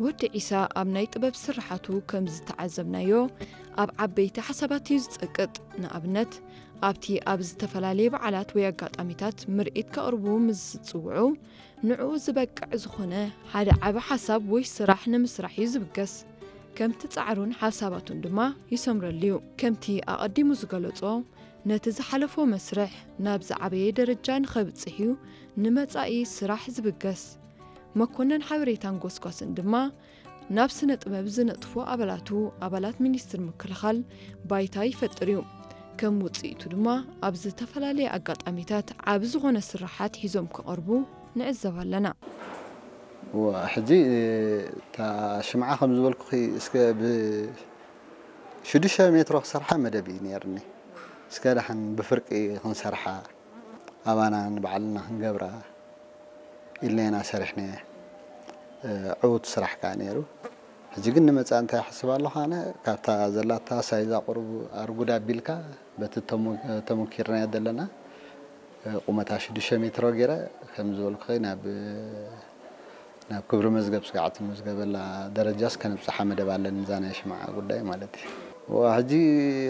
ወዲ ዒሳ ኣብ ናይ ጥበብ ስርሓቱ ከም ዝተዓዘብናዮ፣ ኣብ ዓበይቲ ሓሳባት እዩ ዝጸቅጥ። ንኣብነት፣ ኣብቲ ኣብ ዝተፈላለየ በዓላት ወይ ኣጋጣሚታት ምርኢት ከቕርቡ ምስ ዝጽውዑ፣ ንዕኡ ዝበቅዕ ዝኾነ ሓደ ዓቢ ሓሳብ ወይ ስራሕ ንምስራሕ እዩ ዝብገስ። ከምቲ ጻዕሩን ሓሳባቱን ድማ ይሰምረሉ እዩ። ከምቲ ኣቐዲሙ ዝገለጾ፣ ነቲ ዝሓለፎ መስርሕ ናብ ዝዓበየ ደረጃ ንኸብጽሕ እዩ ንመጻኢ ስራሕ ዝብገስ። መኮነን ሓበሬታን ጎስጓስን ድማ ናብ ስነ ጥበብ ዝነጥፉ ኣባላቱ፣ ኣባላት ሚኒስትሪ ምክልኻል፣ ባይታ ይፈጥር እዩ። ከም ውጽኢቱ ድማ ኣብ ዝተፈላለየ ኣጋጣሚታት ዓቢ ዝኾነ ስርሓት ሒዞም ክቐርቡ ንዕዘብ ኣለና። እዋ፣ ሕጂ እታ ሽምዓ ከም ዝበልኩኺ እስከ ብ ሽዱሽተ ሜትሮ ክሰርሓ መደብ እዩ ነይርኒ። እስከ ደሓን ብፍርቂ ክንሰርሓ፣ ኣባና ንባዕልና ክንገብራ ኢልና ኢና ሰሪሕናያ። እ፣ ዕዉት ስራሕ ከኣ ነይሩ። ሕጂ ግን ንመጻኢ እንታይ ይሓስብ ኣለኹ ኣነ፣ ካብታ ዘላታ ሳይዛ ቁሩብ ኣርጉድ ኣቢልካ፣ በቲ ተሞ-፣ ተሞኪርናዮ ዘለና፣ እ፣ ቁመታ ሽዱሽተ ሜትሮ ገይረ፣ ከም ዝበልኩኺ ናብ፣ ናብ ክብሪ መዝገብ ስጋዕ ትምዝገበላ ደረጃስ ከነብጽሓ መደብ ኣለኒ፣ እዛ ናይ ሽምዓ ጉዳይ ማለት እዩ። ዋ፣ ሕጂ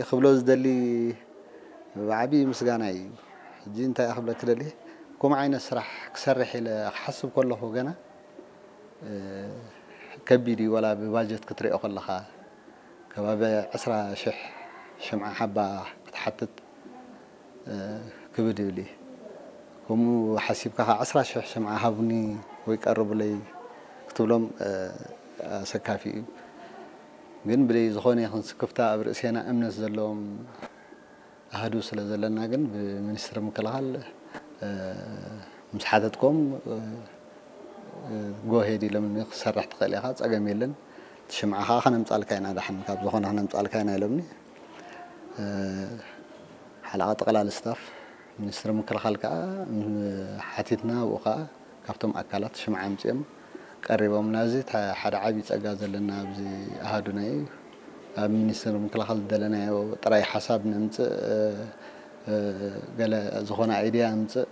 ክብሎ ዝደሊ ብዓቢ ምስጋና እዩ። ሕጂ እንታይ ክብለኪ ደልየ፣ ከምኡ ዓይነት ስራሕ ክሰርሕ ኢለ ክሓስብ ከለኹ ገና፣ እ፣ ከቢድ እዩ፣ ዋላ ብባጀት ክትሪኦ ከለኻ ከባቢ ዕስራ ሽሕ ሽምዓ ሓባ ክትሓትት፣ እ፣ ክብድ ይብል እዩ። ከምኡ ሓሲብካ ኸዓ ዕስራ ሽሕ ሽምዓ ሃቡኒ ወይ ቀርቡለይ ክትብሎም፣ እ፣ ኣሰካፊ እዩ። ግን ብዘይ ዝኾነ ይኹን ስክፍታ ኣብ ርእሴና እምነት ዘለዎም ኣሃዱ ስለ ዘለና ግን ብሚኒስትሪ ምክልኻል፣ እ፣ ምስ ሓተትኮም፣ እ፣ እ፣ ጎሄድ ኢሎምኒ ክሰርሕ ትኽእል ኢኻ፣ ጸገም የለን። እቲ ሽምዓ ኸዓ ከነምጻልካ ኢና፣ ደሓን ካብ ዝኾነ ከነምጻልካ ኢና ኢሎምኒ። እ፣ ሓለቓ ጠቕላሊ ስታፍ ሚኒስትሪ ምክልኻል ከኣ፣ ም፣ ሓቲትና፣ ኣብኡ ከኣ ካብቶም ኣካላት ሽምዓ ኣምጺኦም ቀሪቦምና። እዚ ተ-፣ ሓደ ዓቢ ጸጋ ዘለና ኣብዚ ኣሃዱና እዩ። ኣብ ሚኒስትሪ ምክልኻል ዝደለናዮ ጥራይ ሓሳብ ነምጽእ፣ እ፣ እ፣ ገለ ዝኾነ ኣይድያ ኣምጽእ፣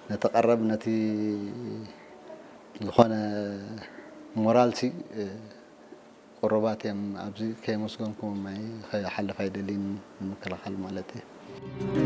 ነቲ ቀረብ፣ ነቲ ዝኾነ ሞራልሲ፣ እ፣ ቁሩባት እዮም። ኣብዚ ከየመስገንኩዎም ኣይ-፣ ከይሓልፍ ኣይደልን፣ ንምክልኻል ማለት እዩ።